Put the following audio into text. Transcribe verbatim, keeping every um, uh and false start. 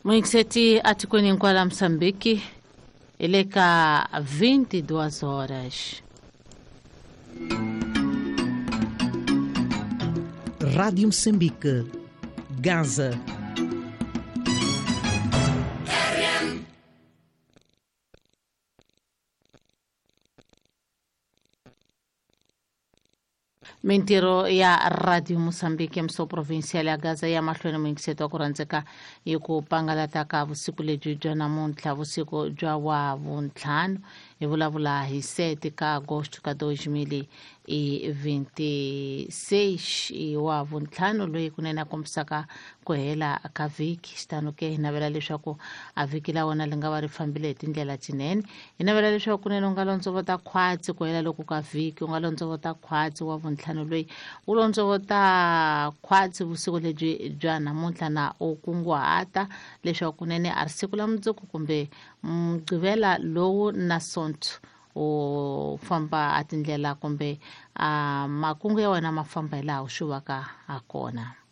Muingiseti atikweni hinkwalo Mozambique hi le ka vinte e duas horas. Rádio Moçambique, Gaza. Mintirho ya Radio Mozambique mso provincial ya Gaza ya mahlweni, muyingiseti wa ku rhandzeka, hi ku pangalata ka vusiku lebyi bya namuntlha, vusiku bya wa vuntlhanu, hi vulavula hi sete ka agosto ka dois mil e vinte e seis, i wa vuntlhanu loyi kunene a kombisaka ku hela ka vhiki. Xitano ke hi navela leswaku a vhiki la wena li nga va ri fambile hi tindlela tinene. Hi navela leswaku kunene u nga londzovota khwatsi ku hela loko ka vhiki, u nga londzovota khwatsi wa vuntlhanu loyi wu londzovota khwatsi vusiku lebyi bya namuntlha, na u kunguhata leswaku kunene a ri siku la mundzuku kumbe mugqivela lowu na sonto u famba a tindlela kumbe a makungu ya wena ma famba hi laha u swi vaka ha kona.